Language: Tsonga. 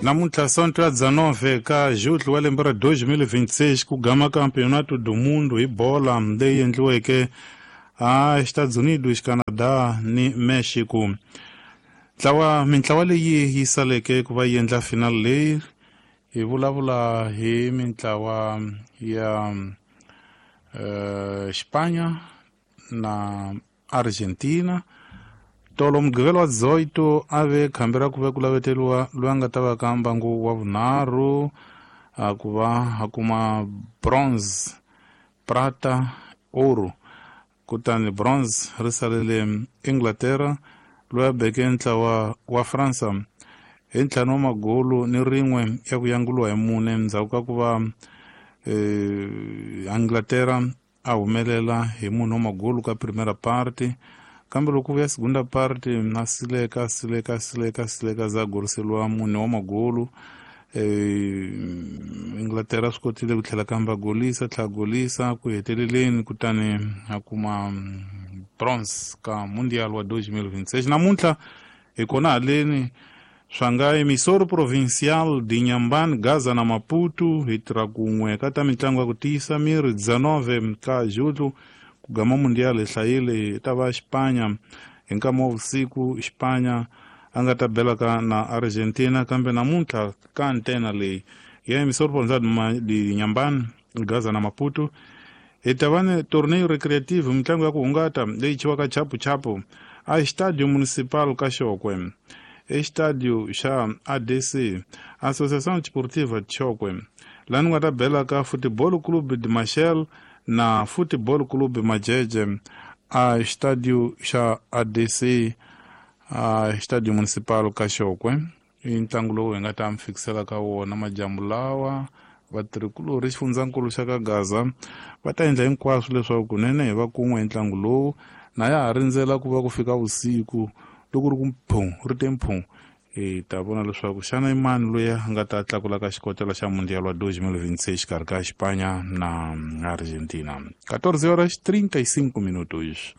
Namuntlha Sonto ya 19 ka Julho wa lembe ra 2026 ku gama Campeonato do Mundo hi bola leyi endliweke a Estados Unidos, Canada ni Mexico. Ntlawa mintlawa leyi yi saleke ku va yi endla final leyi hi vulavula hi mintlawa ya Espanha na Argentina. Tolo Mugqivela wa 18 a ve khambi ra ku ve ku laveteriwa loyi a nga ta va ka mbangu wa vunharhu a ku va a kuma bronze, prata, ouro. Kutani bronze ri salele Inglaterra loyi a beke ntlawa wa Fransa hi 5 wa magolu ni rin'we ya ku yanguliwa hi 4 endzhaku ka ku va Inglaterra a humelela hi 4 wa magolu ka primera parte, kambe loko vuya segunda parte a sileka sileka sileka sileka za goriseliwa 4 wa magolu. Inglaterra swi kotile ku tlhela kambe a golisa tlhela golisa ku heteleleni kutani a kuma bronze ka Mundial wa 2026. Namuntlha hi kona haleni swanga Emissor Provincial de Inhambane, Gaza na Maputo hi tirha kun'we ka ta mitlangu ya ku tiyisa miri 19 ka Julho ku gama Mundial hi hlayile hi ta va Xipanya hi nkama wa vusiku. Xipanya a nga ta belaka na Argentina, kambe namuntlha ka antena leyi ya Emissor Provincial de Inhambane, Gaza na Maputo hi ta va ni torneo recreative, mitlangu ya ku hungata leyi chiwaka chapu chapu a Estádio Municipal ka Xokwe, Estádio xa ADC, Associação Desportiva de Chokwe, laha ni nga ta belaka Futebol Clube de Machel na Futebol Clube Majeje a Estádio xa ADC, a Estádio Municipal ka Xokwe. I ntlangu lowu hi nga ta mi fikisela ka wona majambu lawa. Vatirhikulorhi xifundzankulu xa ka Gaza va ta endla hinkwaswo leswaku kunene hi va kun'we hi ntlangu lowu, na ya ha rindzela ku va ku fika vusiku loko ri ku mphu ri te mphu hi ta vona leswaku xana i mani loyi a nga ta tlakula ka xikotela xa Mundial wa 2026 xikarhi ka Xipanya na Argentina. 14 horas 35 minutos.